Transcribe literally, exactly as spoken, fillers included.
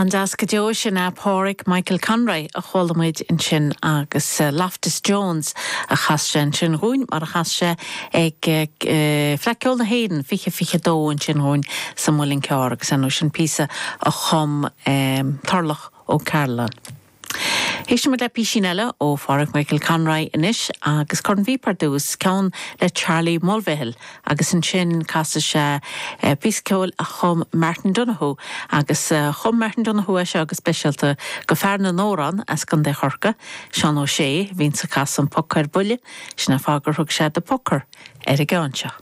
An-deas go deo sin é Pádraig Michael Conroy a chuala muid ansin agus uh, Loftus Jones a chas sé ansin dúinn mar a chas sé ag uh, Fleadh Cheoil na hÉireann fiche fiche dó ansin dúinn sa Mhuileann Cearr agus an sin píosa a chum um, Tarlach Ó Cairealláin. Éistfimid le píosín eile ó Phádraig Michael Conroy anois agus cornphíopa ar dtús ceann le Charlie Mulvihill agus ansin casfaidh sé eh, píosa ceoil a chum Martin Donoghue agus eh, chum Martin Donoghue é seo go speisialta do fhear na n-amhrán as Contae Chorcaí, Seán Ó Sé, bhíonn ag casadh an phoc ar buile, sin an fáth gur thug sé The Pucker ar an gceann seo.